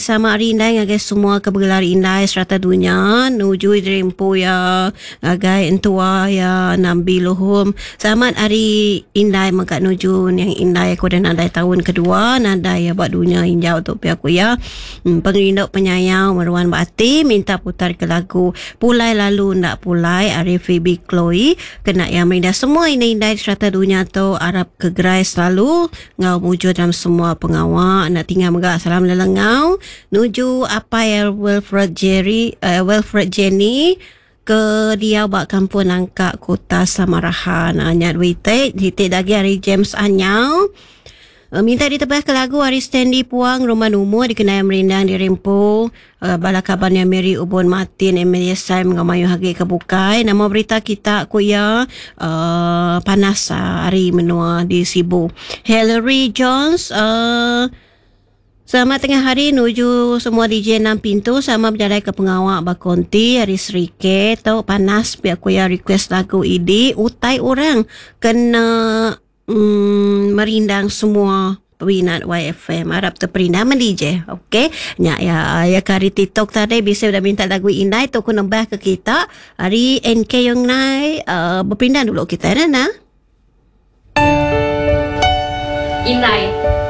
Sama hari indai ngagai semua ke begelar indai serata dunya nuju diri empu iya ngagai entua iya Nambi Luhum. Selamat hari indai mega nuju niang indai aku udah nadai taun kedua nadai iya ba dunya injau tu pia ku iya. Pengerindu penyayau meruan ba ati minta putar ke lagu Pulai Lalu Enda Pulai ari Phoebe Chloe kena iya merindah semua indai-indai di serata dunya tu arap ke gerai selalu. Enggau mujur dalam semua pengawa enda tinggal mega salam lelengau nuju apai Wilfred Jerry uh, Wilfred Jenny ke diau ba kampung Nangka Kota Samarahan. Uh, nya dua iti, siti lagi ari James Anyau. Uh, minta ditebah ke lagu ari Stanley Puang Rumah Numur dikenai merindang diri empu. Bala kaban iya Mary Ubon Martin, Emilia Sam enggau mayuh agi ke bukai. Nama berita kita ku iya uhh panas ari menua di Sibu. Hillary Jones uhh Selamat tengah hari nuju semua DJ enam pintu sama bejalai ke pengawa ba konti ari Serike tu panas pia ku iya request lagu idi utai orang kena Emm merindang semua peminat YFM. Arap teperindang meh DJ. Okey. Nya ya ya ke hari TikTok tadi bisi udah minta lagu indai tu ku nembah ke kita hari NK Yong Nai uh, berpindah dulu kita nah. nah. Indai.